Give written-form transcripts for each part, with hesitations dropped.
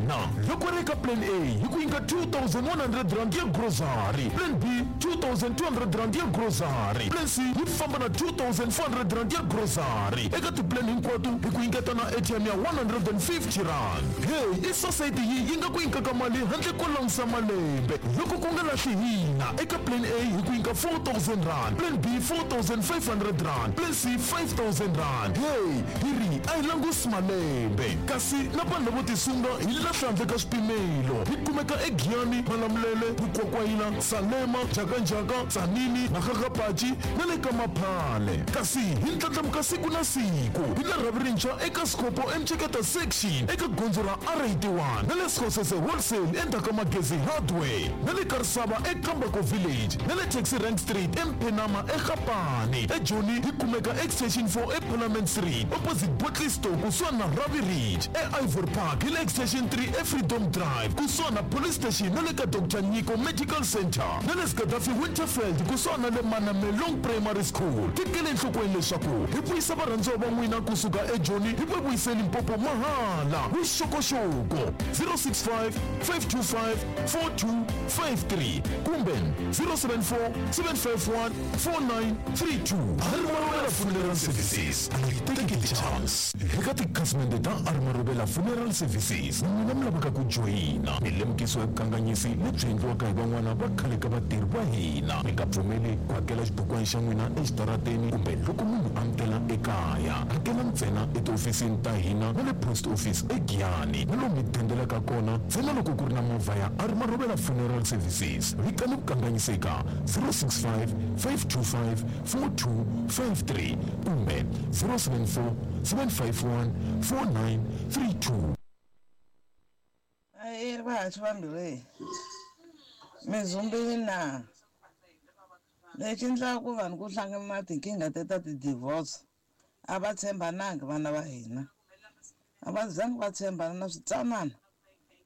hina. Loko ri eka plan A hi ku nyika R2100 ya grocery, plan B R2200 ya grocery, plan C yi famba na R2400 ya grocery. Eka tiplan hinkwato hi ku nyiketa na airtime ya R150. Hey, i society yi yi nga ku nyikaka mali handle ko langusa malembe. Loko ku nga lahli hina, eka plan A hi ku nyika R4000, plan B R4500, plan C R5000. Hey, hi ri a hi langusi malembe. Kasi na vanhu lavo tisunga hi lahla handle ka swipimelo. Hi kumeka eGiyani, Malamulele, Mukwakwayila, Salema, Njhakanjhaka, Tzaneen, Makgakgapachi na le ka Maphale. Kasi hi ndlandlamuka siku na siku. Hi na rhavi rintshwa eka Sikopo eMceketa Section eka gondzo ra R81 na le Skhosese Wholesale endzhaku ka Magezi Hardware na le Karisava eKambako Village na le Taxi Rank Street eMphenama eGapane. EJoni hi kumeka Extension 4 eParliament Street opposite Bottle Store kusuhani na Ravi Ridge. E-Ivory Park hi le Extension 3 eFreedom Drive kusuhani na Police Station na le ka Doctor Nyiko Medical Center na le Gaddafi Winterveld kusuhani na le Manamelong Primary School. Tekela enhlokweni leswaku hi vuyisa varhandziwa va n'wina kusuka eJoni hi va vuyise Limpopo mahala. Vuxokoxoko 065 525 4253 kumbe 074 751 4932. Armarobela Funeral Services a yi teki ti-chance. Eka tikhasimende ta Armarobela Funeral Services, n'wina mi lavaka ku joyina milemukiso ya vukanganyisi lebyi endliwaka hi van'wana va khale ka vatirhi va hina. Mi nga pfumeli ku hakela xibukwana xa n'wina exitarateni kumbe loko munhu a mi tela ekaya. Hakela ntsena etihofisini ta hina na le post office eGiyani na lomu mi dendelaka kona ntsena loko ku ri na movha ya Armarobela Funeral Services. Vikani vukanganyisi eka 065 525 4253 kumbe 074 751 4932. Ahee vahaswi vambirhi, mi zumbile na? Lexi endlaka ku vanhu ku hlangana na tinkingha te ta ti-divorce a va tshembanangi vana va hina, a va zangi va tshembana na switsanana,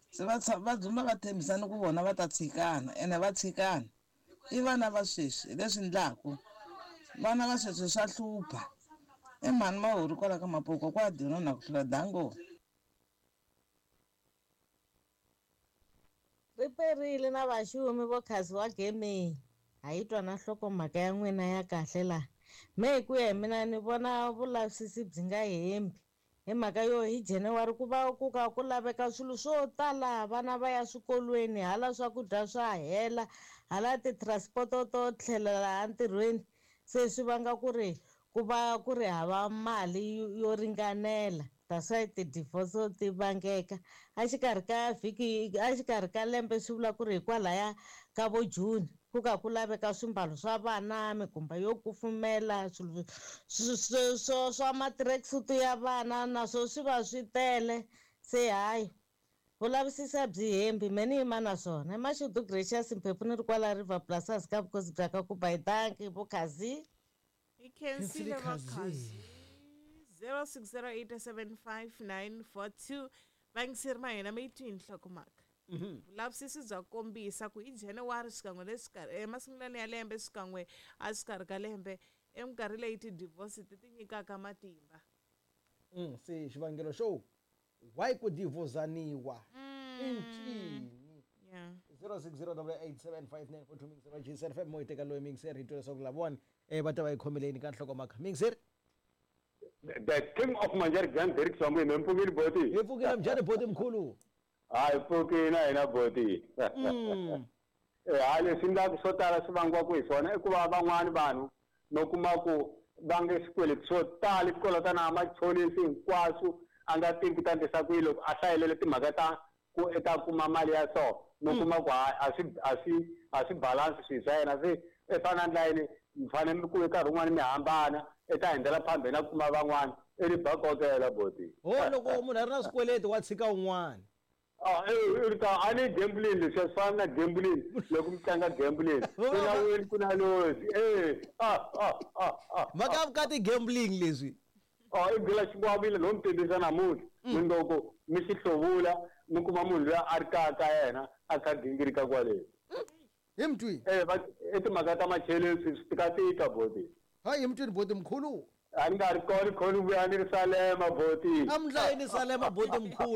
se va va dzumba va tshembisana ku vona va ta tshikana ene va tshikana. I vana va sweswi hi leswi ndlaku vana va sweswi swa hlupha. I mhani Mahori kwala ka Mapoko kwa Dino na ku hlula dango. Ri perile na vaxumi vo khazi wa gemei. Ha yi twa na nhlokomhaka ya n'wina ya kahle laha. Me hi ku ya hi mina ni vona vulavisisi byi nga hembi. Hi mhaka yo hi January ku va ku ka ku laveka swilo swo tala, vana va ya swikolweni, hala swakudya swa hela, hala ti-transport-o to tlhelela entirhweni. Se swi vanga ku ri ku va ku ri hava mali yo ringanela. That's why ti-divorce ti vangeka. Exikarhi ka vhiki, exikarhi ka lembe swi vula ku ri hikwalaya ka vo June ku ka ku laveka swimbalo swa vana, mikumba yo kufumela, swilo swa ma-tracksuit ya vana naswo swi va swi tele. Se hayi vulavisisi byi hembi, me ni yima na swona. I Mashudu Gracious Mphephu ni ri kwala River Plus ka vukosi bya ka Kuba hi danki vo Khazi. Hi khensile va Khazi. Khazi. 06087594 vayingiseri ma hina mi yi twi hi nhlokomhaka. Vulavisisi bya kombisa ku hi January xikan'we le xikarhi emasungulweni ya lembe xikan'we a xikarhi ka lembe eminkarhi leyi ti-divorce ti ti nyikaka matimba. Se xivangelo xo why ku divhozaniwa i ncini? 0608875942 mingiseri wa JCR FM mo hi teka loyi mingiseri hi twa leswaku lavawani va ta va yi khomeleni ka nhlokomhaka. Mingiseri. The King of Manjari Grand Derek Swamwe, mi pfukile boti? Hi pfukile mjhani boti mkhulu? Hayi pfukile na hina boti. Hayi leswi endlaka swo tala swi vangiwaka hi swona i ku va van'wani vanhu no kuma ku va nge swikweleti swo tala swikolota na machonisi hinkwaswo a nga tivi ku ta endlisa ku yini loko a hlayelele timhaka ta ku i ta kuma mali ya so no kuma ku hayi a swi balance swilo swa yena. Se i fana na ndlela yini mi fanele mi ku nkarhi wun'wani mi hambana i ta hundzela phambeni na kuma van'wani i ri ba kokela boti. Ho loko munhu a ri na swikweleti wa tshika un'wana. I ta a ni gambling leswi swi fana na gambling loko mi tlanga gambling ku na win ku na lose. Mhaka ya vukati gambling leswi. I byela xikwavile no mi tivisa namuntlha mindloko mi xi hluvula mi kuma munhu loyi a ri kaya ka yena a kha gingirika kwale. Hi mtwini. I timhaka ta macheleni swi tikatika boti. Hayi hi mtwini boti mkhulu. A ni nga ri kona khoni vuya ni ri Salema boti. A mi ndlayini Salema boti mkhulu.